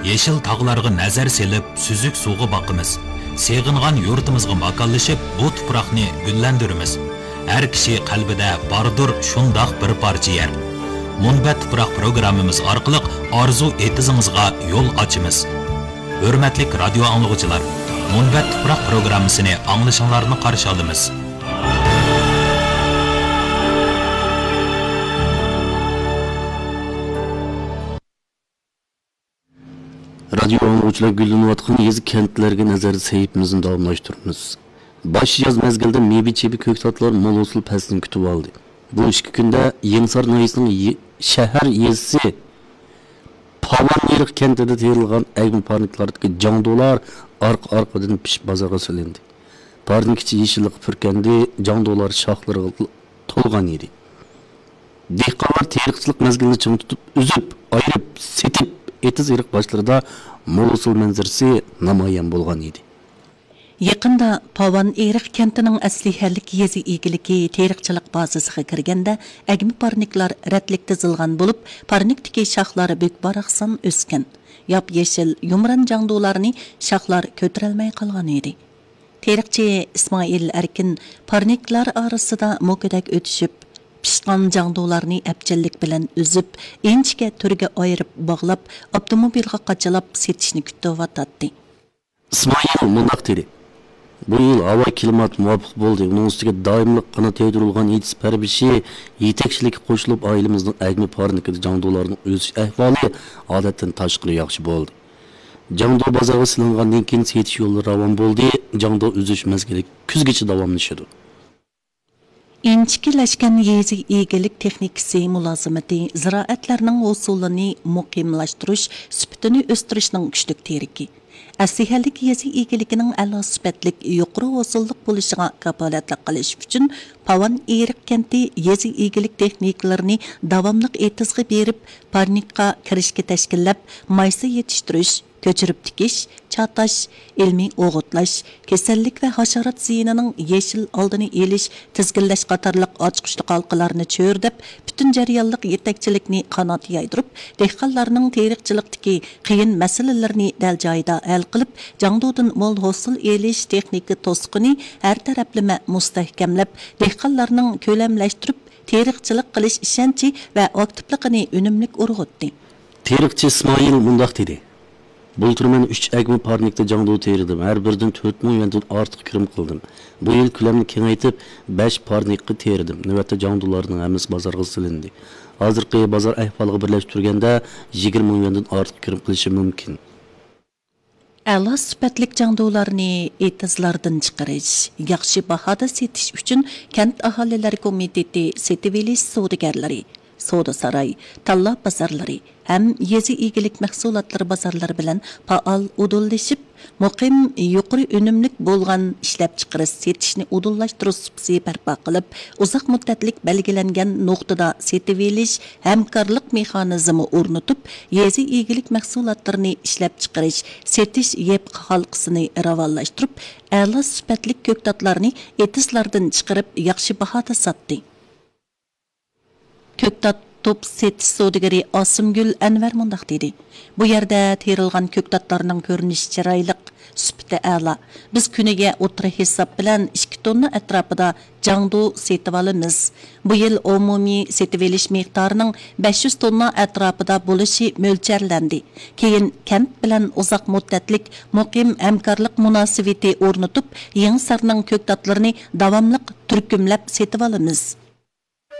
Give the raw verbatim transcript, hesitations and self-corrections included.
يېشىل تاغلارغا نەزەر سېلىپ، سۈزۈك سۇغا باقىمىز. سېغىنغان يۇرتىمىزغا ماكانلىشىپ، بۇ تۇپراقنى گۈللەندۈرىمىز. ھەر كىشى قەلبىدە باردۇر شۇنداق بىر پارچە يەر. مۇنبەت تۇپراق پروگراممىمىز ئارقىلىق ئارزۇ ئېتىزىڭىزغا يول ئاچىمىز. ھۆرمەتلىك رادىيو ئاڭلىغۇچىلار، مۇنبەت تۇپراق پروگراممىسىنى ئاڭلىشىڭلارنى قارشى ئالىمىز. رادىيو ئاڭلىغۇچىلار، گۈللىنىۋاتقان يېزا، كەنتلەرگە نەزەر سەھىپىمىزنى داۋاملاشتۇرىمىز. باش ياز مەزگىلىدە مېۋە-چېۋە، كۆكتاتلار مول ھوسۇل پەسلىنى كۈتۈۋالدى. بۇ ئىككى كۈندە يېڭىسار ناھىيەسىنىڭ يې-، شەھەر يېزىسى پاۋان ئېرىق كەنتىدە تېرىلغان ئەگمە پارنىكلاردىكى جاڭدۇلار ئارقا-ئارقىدىن پىشىپ بازارغا سېلىندى. پارنىك ئىچى يېشىللىققا پۈركەندى، جاڭدۇلار شاخلىرىغا تولغان ئىدى. دېھقانلار تېرىقچىلىق مەزگىلىنى چىڭ تۇتۇپ، ئۈزۈپ، ئايرىپ، سېتىپ، ئېتىز ئېرىق باشلىرىدا مول ھوسۇل مەنزىرىسى نامايان بولغان ئىدى. يېقىندا پاۋان ئېرىق كەنتىنىڭ ئەسلىھەلىك يېزا ئىگىلىكى تېرىقچىلىق بازىسىغا كىرگەندە، ئەگمە پارنىكلار رەتلىك تىزىلغان بولۇپ، پارنىكتىكى شاخلار بۈك-باراقسان ئۆسكەن. ياپيېشىل يۇمران جاڭدۇلارنى شاخلار كۆتۈرەلمەي قالغان ئىدى. تېرىقچى ئىسمائىل ئەركىن پارنىكلار ئارىسىدا موكىدەك ئۆتۈشۈپ، پىشقان جاڭدۇلارنى ئەپچىللىك بىلەن ئۈزۈپ، ئىنچىكە تۈرگە ئايرىپ باغلاپ، ئاپتوموبىلغا قاچىلاپ سېتىشنى كۈتۈۋاتاتتى. ئىسمائىل مۇنداق دېدى: بۇ يىل ھاۋا، كىلىمات مۇۋاپىق بولدى. ئۇنىڭ ئۈستىگە دائىملىق قانات يايدۇرۇلغان ئېتىز پەرۋىشى يېتەكچىلىككە قوشۇلۇپ، ئائىلىمىزنىڭ ئەگمە پارنىكىدا جاڭدۇلارنىڭ ئۆسۈش ئەھۋالى ئادەتتىن تاشقىرى ياخشى بولدى. جاڭدۇ بازارغا سېلىنغاندىن كېيىن سېتىش يولى راۋان بولدى. جاڭدۇ ئۈزۈش مەزگىلى كۈزگىچە داۋاملىشىدۇ. ئىنچىكىلەشكەن يېزا ئىگىلىك تېخنىكىسى مۇلازىمىتى زىرائەتلەرنىڭ ھوسۇلىنى مۇقىملاشتۇرۇش، سۈپىتىنى ئۆستۈرۈشنىڭ كۈچلۈك تىرىكى. ئەسلىھەلىك يېزا ئىگىلىكىنىڭ ئەلا سۈپەتلىك، يۇقىرى ھوسۇللۇق بولۇشىغا كاپالەتلىك قىلىش ئۈچۈن، پاۋان ئېرىق كەنتى يېزا ئىگىلىك تېخنىكلىرىنى داۋاملىق ئېتىزغا بېرىپ، پارنىكقا كىرىشكە تەشكىللەپ، مايسا يېتىشتۈرۈش، كۆچۈرۈپ تىكىش، چاتاش، ئىلمىي ئوغۇتلاش، كېسەللىك ۋە ھاشارات زىيىنىنىڭ يېشىل ئالدىنى ئېلىش، تىزگىنلەش قاتارلىق ئاچقۇچلۇق ھالقىلارنى چۆرىدەپ، پۈتۈن جەريانلىق يېتەكچىلىكنى قانات يايدۇرۇپ، دېھقانلارنىڭ تېرىقچىلىقتىكى قىيىن مەسىلىلىرىنى دەل جايىدا ھەل قىلىپ، جاڭدۇدىن مول ھوسۇل ئېلىش تېخنىكا توسۇقىنى ھەر تەرەپلىمە مۇستەھكەملەپ، دېھقانلارنىڭ كۆلەملەشتۈرۈپ تېرىقچىلىق قىلىش ئىشەنچى ۋە ئاكتىپلىقىنى ئۈنۈملۈك ئۇرغۇتتى. تېرىقچى ئىسمائىل مۇنداق دېدى: بۇلتۇر مەن ئۈچ ئەگمە پارنىكتا جاڭدۇ تېرىدىم، ھەر بىرىدىن تۆت مىڭ يۈەندىن ئارتۇق كىرىم قىلدىم. بۇ يىل كۆلەمنى كېڭەيتىپ، بەش پارنىكقا تېرىدىم. نۆۋەتتە جاڭدۇلارنىڭ ھەممىسى بازارغا سېلىندى. ھازىرقى بازار ئەھۋالىغا بىرلەشتۈرگەندە، يىگىرمە مىڭ يۈەندىن ئارتۇق كىرىم قىلىشى مۇمكىن. ئەلا سۈپەتلىك جاڭدۇلارنى ئېتىزلاردىن چىقىرىش، ياخشى باھادا سېتىش ئۈچۈن كەنت ئاھالىلەر كومىتېتى سېتىۋېلىش سودىگەرلىرى، سودا ساراي، تاللا بازارلىرى ھەم يېزا ئىگىلىك مەھسۇلاتلىرى بازارلىرى بىلەن پائال ئۇدۇللىشىپ، مۇقىم، يۇقىرى ئۈنۈملۈك بولغان ئىشلەپچىقىرىش سېتىشنى ئۇدۇللاشتۇرۇش سۇپىسى بەرپا قىلىپ، ئۇزاق مۇددەتلىك بەلگىلەنگەن نۇقتىدا سېتىۋېلىش ھەمكارلىق مېخانىزمى ئورنىتىپ، يېزا ئىگىلىك مەھسۇلاتلىرىنى ئىشلەپچىقىرىش، سېتىش يەپقا ھالقىسىنى راۋانلاشتۇرۇپ، ئەلا سۈپەتلىك كۆكتاتلارنى ئېتىزلاردىن چىقىرىپ، ياخشى باھادا ساتتى. كۆكتات توپ سېتىش سودىگىرى ئاسىمگۈل ئەنۋەر مۇنداق دېدى: بۇ يەردە تېرىلغان كۆكتاتلارنىڭ كۆرۈنۈشى چىرايلىق، سۈپىتى ئەلا. بىز كۈنىگە ئوتتۇرا ھېساب بىلەن ئىككى توننا ئەتراپىدا جاڭدۇ سېتىۋالىمىز. بۇ يىل ئومۇمىي سېتىۋېلىش مىقدارىنىڭ بەش يۈز توننا ئەتراپىدا بولۇشى مۆلچەرلەندى. كېيىن كەنت بىلەن ئۇزاق مۇددەتلىك مۇقىم ھەمكارلىق مۇناسىۋىتى ئورنىتىپ، يېڭىسارنىڭ كۆكتاتلىرىنى داۋاملىق تۈركۈملەپ سېتىۋالىمىز.